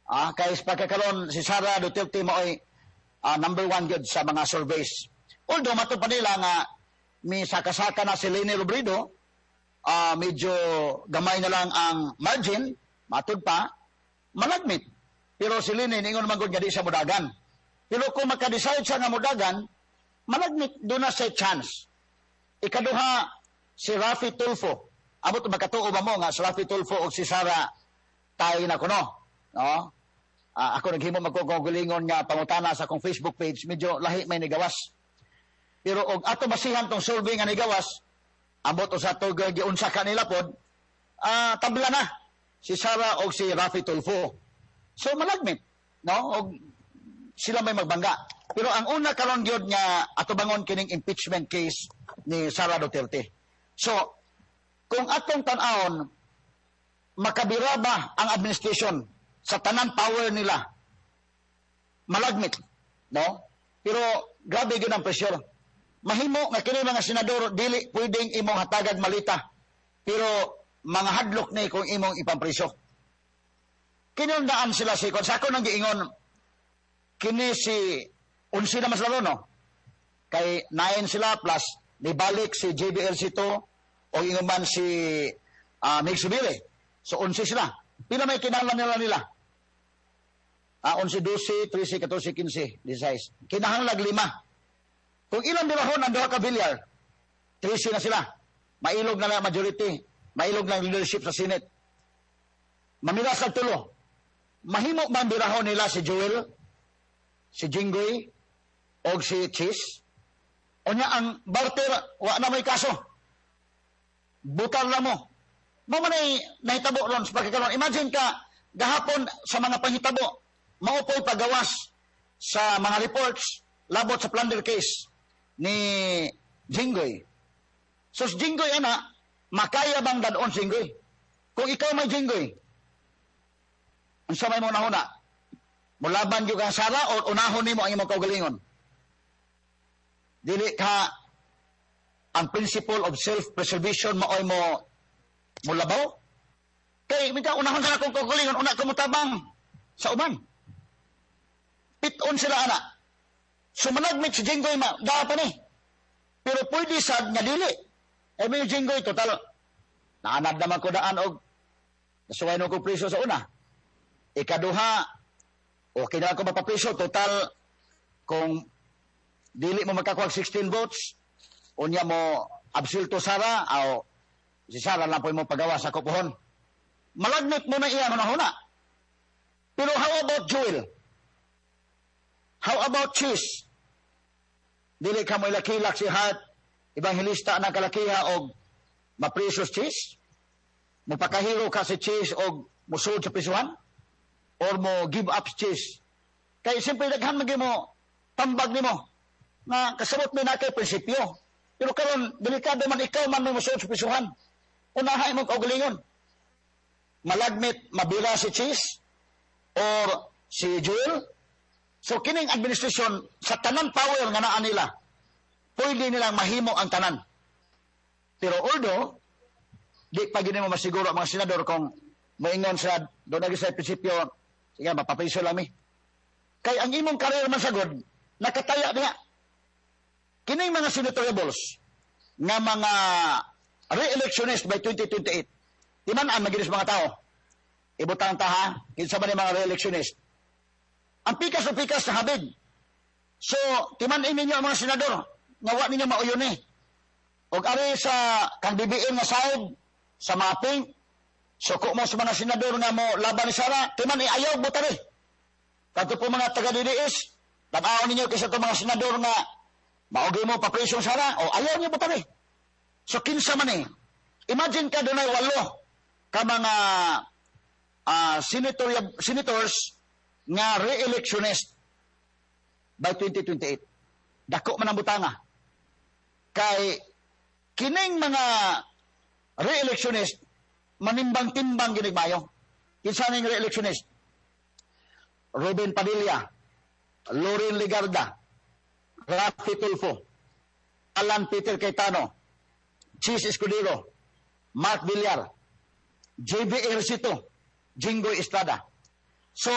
Kay pagkakaroon si Sara Duterte maoy number one gyud sa mga surveys. Although mato pa nila nga mi saka-saka na si Leni Robredo, medyo gamay na lang ang margin, matud pa, malagmit. Pero si Leni, ningon man gud nga di siya mudagan. Pero kung maka-decide siya nga mudagan, malagmit duna siya'y chance. Ikaduha, si Raffy Tulfo. Amot makatuo ba mo nga si Raffy Tulfo o si Sara tayo na kuno? No? Ako naghimo magkukulingon nga pangutana sa akong Facebook page, medyo lahi may nigawas. Pero og ato basihan tong survey nga nigawas, ambot sa ato giunsa kanila pod, tabla na si Sara og si Raffy Tulfo. So malagmit, no? Og sila may magbangga. Pero ang una karon gyud nga atubangon kining impeachment case ni Sara Duterte. So, kung atong tan-awon, makabira ba ang administration sa tanan power nila? Malagmit, no? Pero grabe gyud ang pressure. Mahimo nga kini mga senador dili pwedeng imong hatagag malita. Pero mga hadlok ni kung imong ipampriso. Kinundaan sila si sa ako nang giingon kini si 11 na mas lalo, no? Kay 9 sila plus nibalik si JB Ejercito o ingon man si Migz Zubiri. So 11 sila. Pila may kinahanglan nila? 11, 12, 13, 14, 15, 16. Kinahanglan lima. Kung ilang birahon ang duha ka Villar, 13 na sila. Mailog na lang majority. Mailog na ang leadership sa Senate. Mamila sa tulo. Mahimo man birahon nila si Joel, si Jinggoy, o si Chiz? Unya ang barter, wa na may kaso. Butar na mo. Mao man ay nahitabo ron sa pagkakaroon. Imagine ka, gahapon sa mga panghitabo, mao po'y pagawas sa mga reports labot sa plunder case ni Jinggoy. So si Jinggoy ana, makaya bang dadon si Jinggoy? Kung ikaw may Jinggoy, unsa may mo nahuna? Mulaban gyud kang Sara o unahon nimo ang imong kaugalingon? Dili ka ang principle of self-preservation maoy mo mulabaw? Kay minta unahon sa akong kaugalingon, una ko motabang sa uban. Piton sila ana. Sumanagmit si Jinggoy ma, daa pa ni. Pero pwede sad nga dili. Eh may Jinggoy total. Naanad naman ko daan og nasuway no ko priso sa una. Ikaduha, okay na ako mapapriso. Total, kung dili mo makakuha 16 votes, unya mo absulto Sara, o si Sara lang po mo pagawa sa kupuhon. Malagmit mo na iya huna. Pero how about Joel? How about Chiz? Dili ka mo ilakilak si Heart Evangelista na kalakiha og mapriso si Chiz? Mupakahiro ka si Chiz og musulod sa prisuhan? Or mo give up si Chiz? Kay siyempre daghan man mo tambag nimo nga kasabot mi na kay prinsipyo. Pero karon delikado man ikaw man may musulod sa prisuhan. Unahay mo kaugalingon. Malagmit mabira si Chiz or si Joel. So kining administration sa tanan power nga naa nila, pwede nilang mahimo ang tanan. Pero although di pa gini mo masiguro ang mga senador kung moingon sa doon na sa prinsipyo, sige, mapapriso lang mi. Kay ang imong career man sagod, nakataya niya. Kining mga senatoriables nga mga re-electionist by 2028, di man ang maginis mga tao. Ibutang ta ha, kinsa man yung mga re-electionist. Ang pikas o pikas na habig. So, timan ninyo ang mga senador, nga wa ninyo mauyon eh. Og ari sa kang BBM nga side, sa mga pink, suko mo sa mga senador nga mo laban ni Sara, timan ayaw butari. Kadto po mga taga DDS, tan-awon ninyo kaysa itong mga senador nga maugay mo papresyon Sara, o ayaw niyo butari. So kinsa man eh. Imagine ka dunay walo ka mga senators nga re-electionist by 2028. Dako man ang butanga. Kay kining mga re-electionist manimbang-timbang ginig mayo. Kinsa ning re-electionist? Robin Padilla, Loren Legarda, Raffy Tulfo, Alan Peter Cayetano, Chiz Escudero, Mark Villar, JB Ejercito, Jinggoy Estrada. So,